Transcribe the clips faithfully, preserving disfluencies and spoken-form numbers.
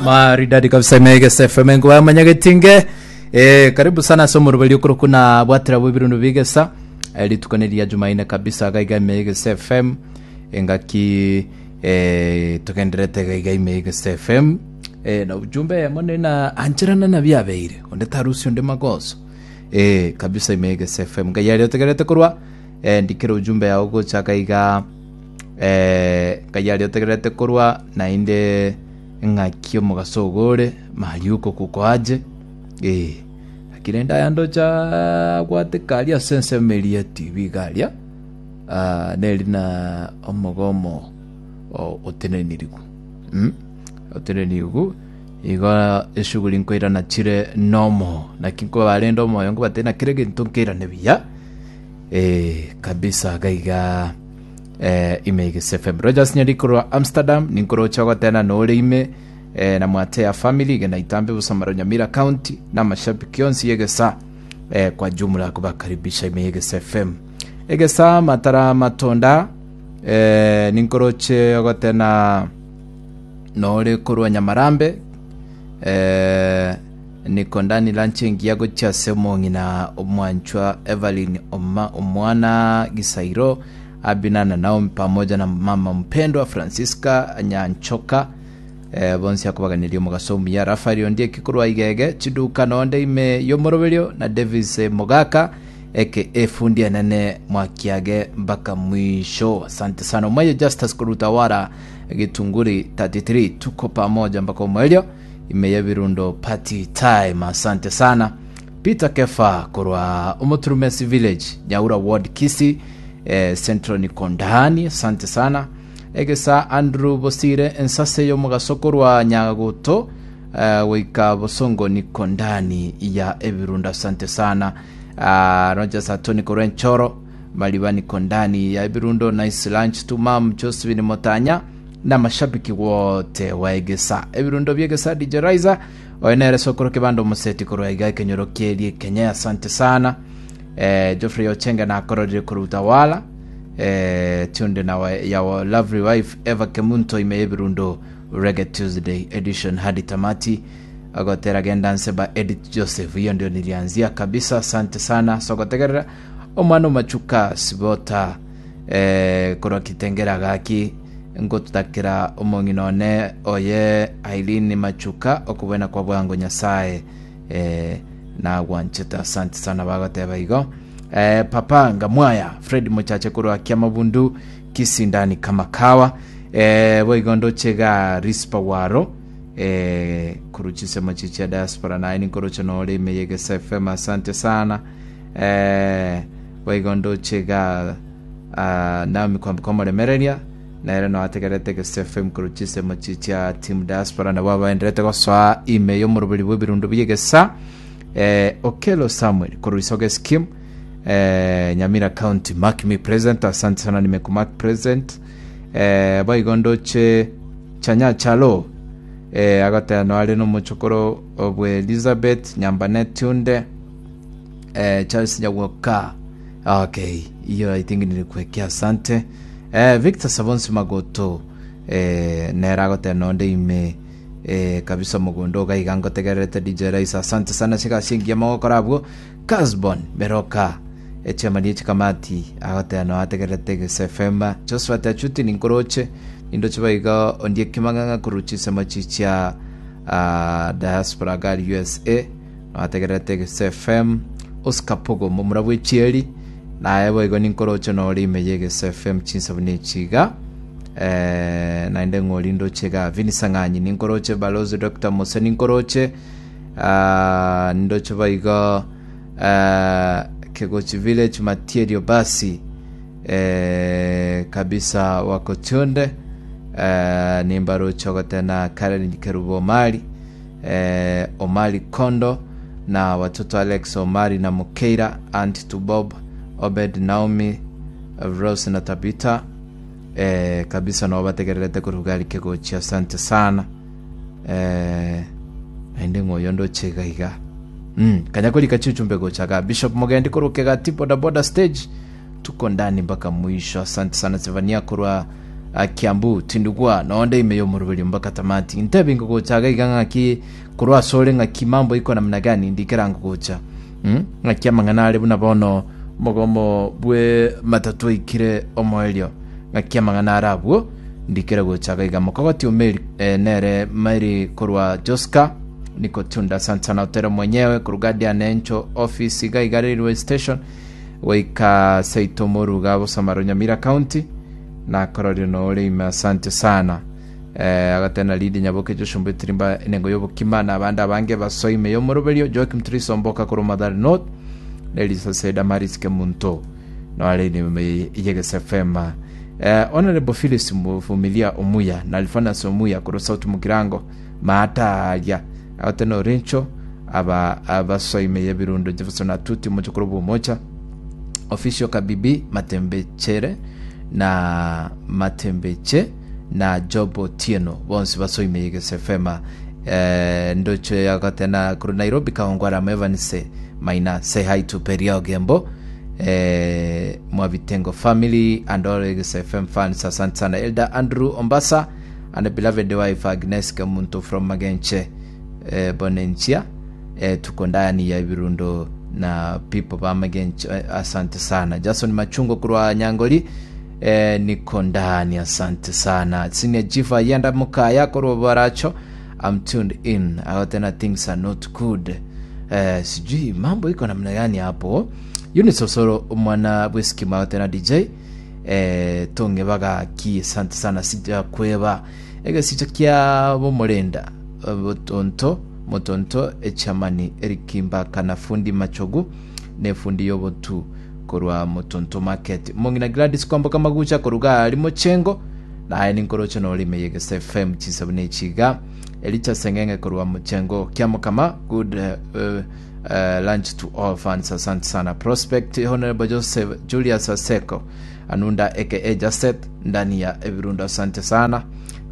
Maridadi kabisa imegesa F M ngo amanyagetinge. Eh, karibu sana ase omoroberi okoro na bwatira bwe birundu bigesa. Eh, rituko ne ria Jumaine kabisa gaiga Megesa F M engaki eh tugenderete gaiga Megesa F M, eh na ujumbe mone na ancherana na biabeire onde tarusi onde magoso eh kabisa. Imegesa F M ngai ari otegerete korwa eh ndikira ujumbe yao gocha gaiga eh ngai ari otegerete korwa nainde ng'aki omogaso ogore mariuko kukoaje eh akirenda ayandocha gwateka aria ase ensemo eria ya T V garia. Ah, neri na omogomo o- otenenirigu mm? otenenirigu igo eshughuli nkoirana chire nomo naki nkobarenda omoyo nkobatebia na kere gento nkeirane buya eh, kabisa gaiga eh, ime Egesa F M. Rogers Nyari korwa Amsterdam ninkorocha ogotena nore ime eh, na mwate ya family gena itambe Busamaro, Nyamira County, na mashabiki onsi Egesa eh, kwa jumla kubakaribisha ime Egesa F M. Egesa matara matonda eh, ninkoroche ogotena nore korwa Nyamarambe eh, niko ndani lanche ngiya gochia ase omong'ina omwanchwa Evelyn Oma, omwana Gisairo Abina na Naomi pamoja na mama mpendwa Francisca Nyanchoka eh, bonsi akobaganiria omogaso omuya. Rafael Ondieki korwa Igege chiduka nonde ime yomoroberio na Davis eh, Mogaka eke efundi enene mwakiage mpaka mwisho. Asante sana. Mwaye Justus Kurutawara Gitunguri thirty-three, tuko pamoja mpaka omwelio ime ya Birundo party time. Asante sana. Peter Kefa korwa Omoturumesi village, Nyaura ward, Kisi eh, Central, niko ndani. Asante sana. Egesa Andrew Bosire ensase y'omugaso korwa Nyagoto eh, goika Bosongo, niko ndani ya Ebirunda. Asante sana. uh, Rogers Atoni korwa Enchoro Maliba, niko ndani ya Ebirundo. Nice lunch to mam Josephine Motanya na mashabiki wote wa Egesa, ebirundo byegesa. D J Riser oyo nere sokoro kebando omuseti korwa iga ekenyoro kierie Kenya. Asante sana. eh, Geoffrey Ochenga nakororire korwa Utawala eh, tunde na wa, ya wa lovely wife Eva Kemunto ime Ebirundo Reggae Tuesday edition hadi tamati agotera genda nseba Edith Joseph. Hiyo ndio nilianzia kabisa. Asante sana sogotegerera omwana omachuka sibota eh, korwa Kitengera gaki ngotutakira omong'ina one oye Aileen Machuka okobwena kwa bwango Nyasaye eh, nagwanchete. Asante sana bagoteba igo. eh, papa ngamwaya Fred Muchache korwa Kiamabundu Kisindani kama kawa eh, boigo ndochega Rispa Waro eh, kuruchisemo chichia diaspora naye ninkoroche nore ime Yegesa F M. Asante sana. eh, boigo ndochega uh, Naomi kwambuka omoremereria nere no ategerete Egesa F M kuruchisemo chichia team diaspora nabo abaenderete gosoa ime y'omoroberi bw'ebirundu by'Egesa. eh, Okelo Samuel kuruisoge scheme eh, Nyamira County, mark me present. Asante sana, nimekumark present. eh, boigo ndoche Chanya Chalo eh, agoteno are nomochokoro obwe Elizabeth Nyambane Tunde eh, Charles Nyawoka. Okay, hiyo I think nilikuwekea. Asante. eh, Victor Savonsi Magoto eh, nera agoteno nde ime eh, kabisa mogondo gaiga ngotegererete D J Raisa. Asante sana cigacingia magokora abwo. Casbon Beroka echemani chikamati agoteno ategererete Gese F M. Josephat Achuti ninkoroche nindoche baiga ondie kimang'ang'a koruchisemo chichia uh, diaspora gari U S A ategererete Gese F M. Oscar Pogo momura bwechieri naye boigo ninkoroche nore ime ye Gese F M chinsabu nechiga eh, naende ng'ori ndoche ga Vinisang'anyi ninkoroche Balozi Doctor Mose ninkoroche uh, nindoche boigo uh, Kegochi village Matierio basi eh, kabisa wako tunde eh, nimbaroche ogotena Karen Kerubo Omari eh, Omari Kondo na watoto Alex Omari na Mukeira, Aunt to Bob Obed, Naomi, Rose na Tabita eh, kabisa nabo bategererete korugari Kegochi. Asante sana. eh, naende ng'oyo ndoche iga mm, kanyakori kachichumbe gochaga Bishop Mogendi koruke gati boda boda stage, tuko ndani mpaka mwisho. Asante sana. Zevania korwa uh, Kiambu tindugwa nonde ime yomoroberi mpaka tamati. Ntebi ngogocha iga ng'aki korwa asore, ng'aki mambo iko namna gani, ndikera ngogocha mm? Ng'aki amang'ana are buna bono mogomo bwe matatu ikire omoerio, ng'aki amang'ana are abwo, ndikere gocha iga. Mokogoti omeri eh, nere Mary korwa Joska niko tunda. Asante sana Otero mwenyewe korwa Guardian Angel office iga iga railway station goika seito moruga Bosamaro, Nyamira County, nakororio nore ime. Asante sana. eh, agatena Lidi Nyaboke, Joshua Tirimba, enengo y'obokima na abandi abange basoime y'omoroberio. Joakim Trisomboka korwa Mathare North, Nelisa Seda Maris Kemunto noare ime yegese F M. eh, Honorable Phyllis Muvumilia Omuya na Alfanas Omuya korwa South Mugirango maataria agatena Orencho aba abasoime y'ebirundo. Jefferson Atuti mochokoro bwomocha official Kabibi Matembechere na Matembeche na Job Otieno bonsi basoime yegese F M. eh, ndocho yagatena kuru Nairobi Kawangwara Evanse Maina, say hi to Peria Ogembo, eh, Mwabitengo family and all Yegese F M fans. Asante sana Elder Andrew Ombasa and beloved wife Agnes Kemuntu from Magenche, eh, Bonenchia, eh, tuko ndani ya Ibirundo na people ba Magenche. eh, asante sana Jason Machungo kurwa Nyangoli, eh, niko ndani. Asante sana Senior Jifa Yenda Mukaya kurwa Baracho, I'm tuned in. Tena things are not good, eh, sijui mambo iko namna gani hapo. Eunice Osoro mwana bweskima tena D J eh, tonge bagaki. Asante sana sija kweba egesicho kia bomorenda botonto motonto echamani Erikimbaka na fundi Machogu ne fundi yobotu korwa Motonto Market, mongina Gladys Kwamboka Magucha koruga ari Mochengo naye ninkorocho norime Yegese F M chisabune chiga. Elicha Sengenge korwa Mochengo Kiamokama, good uh, uh, lunch to all fans. Asante sana Prospect Honorable Joseph Julius Aseko Anunda aka Jaset ndani ya Ebirundo. Asante sana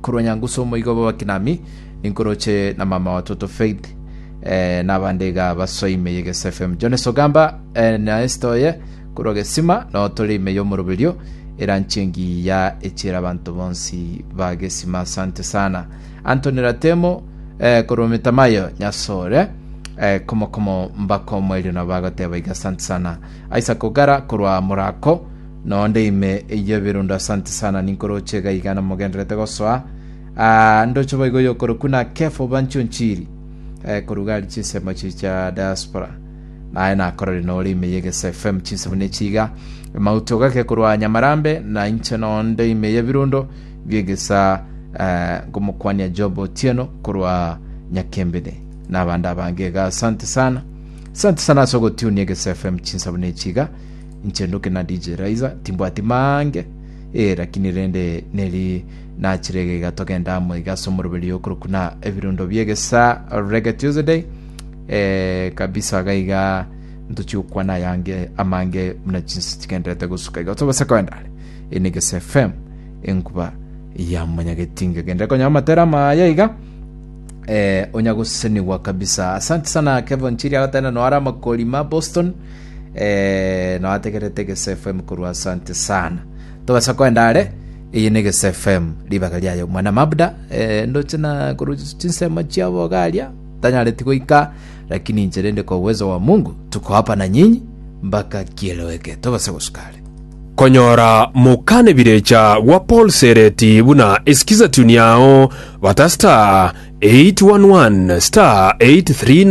korwa Nyanguso moigobo wakinami ninkoroche na mama watoto Faith eh, n'abandega basoime Yegese F M. Jones Ogamba eh, na Estoye korwa Gesima no torime y'omoroberio eranchengi ya echera abantu bonsi ba Gesima. Asante sana Anthony Ratemo eh, korwa Mitamayo Nyasore, eh, komo komo mbako mwelio na bagoteba iga. Asante sana Isaac Ogara korwa Murako nonde ime yebirundo. Asante sana ninkoroche gaigana mogenderete gosoa. Ah, ndocho boigo yokoro kuna kefo bancho nchiri eh, korugari chinsemo chicha diaspora naye nakorore nore ime Yegese F M chinsemo chiga mauto gake korwa Nyamarambe na inche nonde ime yebirundo biegesa eh, ngomokwania Job Otieno korwa Nyakembede n'abandi abange. Asante sana, asante sana ase ogotunia Yegese F M chinsabune chiga. Inche nduke na D J Raiza timbwati mange eh, lakini rende neri nachirege gatogenda amo iga ase omoroberi okorokuna ebirundo biegesa Reggae Tuesday eh, kabisa gaiga ntochiokwana yange amange muna chinsi chigenderete gosuka iga tobase koendare enegesa F M enkuba ya manyagetinga gendere konya amatera maya iga eh, onya goseseniwa kabisa. Asante sana Kevin Chiri agatena noara makolima Boston eh, noategerete Gese F M korwa. Asante sana tobasa koendare iyi ni Gese F M ribaga riayo mwana mabda eh, ndoche na koru chinsemo chiabo garia tanyareti goika, lakini ncherende kwa uwezo wa Mungu tuko hapa na nyinyi mpaka kieleweke tobase gosukare. Konyora mokane birecha wa Paul Sereti buna esikiza tune yao bata star eight one one star eight three nine.